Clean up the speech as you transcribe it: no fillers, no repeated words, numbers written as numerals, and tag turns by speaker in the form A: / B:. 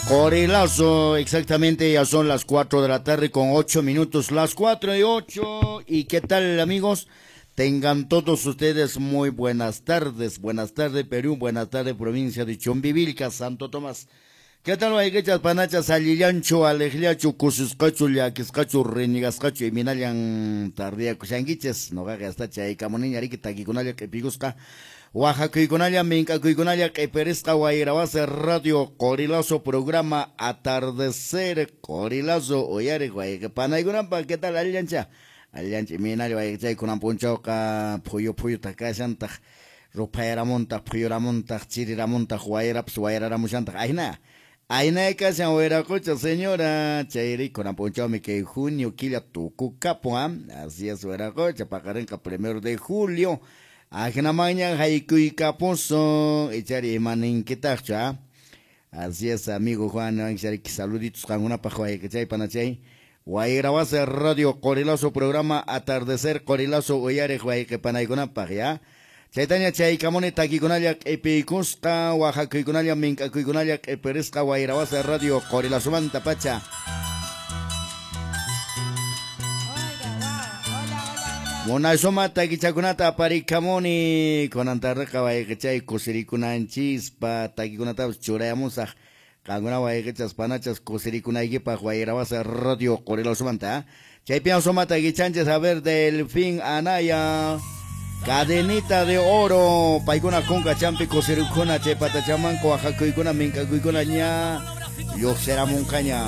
A: Qorilazo, exactamente ya son las 4 de la tarde con 8 minutos, las 4:08. ¿Y qué tal, amigos? Tengan todos ustedes muy buenas tardes Perú, buenas tardes provincia de Chumbivilcas, Santo Tomás. ¿Qué tal, wayqichas, panachas, allillanchu, aleqllachu, kusisqachu, llakisqachu, renigasqachu, iminallan tardiyakushankichis? Noqaqa hasta chaykamuniña riki takikunalla q'ipikusqa, waqakuykunalla, mink'akuykunalla q'ipirisqa Wayrawasi Radio Qorilazo programa Atardecer Qorilazo uyariq wayqi panaykunapaq. ¿Qué tal, allillancha? Allillancha, iminalla wayqichay, kunan p'unchawqa phuyu phuyutaq kashantaq, ruphayaramuntaq, phuyuramuntaq, chiriramuntaq, wayrapas wayraramushantaq, ayna. Ayna kashan wayraqucha señora, chayri kunan p'unchawmi kay junio killa tukukapun, así es wayraqucha, paqarinqa 1 de julio, ajinamanña haykuykapusun, ichari imaninkitaqchu, Así es, amigo Juan, saluditos qankunapaq wayqichay panachay. Wayrawasi Radio Qorilazo programa Atardecer Qorilazo uyariq wayqi panaykunapaq, ya. Chaytaña chaykamuni takikunalla q'ipiykusqa, waqakuykunalla mink'akuykunalla q'ipirisqa Wayrawasi Radio Qorilazomanta pacha. Munasuma takichakunata aparikamuni kunan tardeqa wayqichay kusirikunanchispa takikunatapas churayamusaq qankuna wayqichas panachas kusirikunaykipaq Wayrawasi Radio Qorilazomanta. Chaypian suma takichanchis, a ver, Delfín Anaya, Cadenita de Oro, paykuna kunka champi kusirikuna chay patachamanku waqakuykuna mink'akuykuna ña lluqsiramunqaña.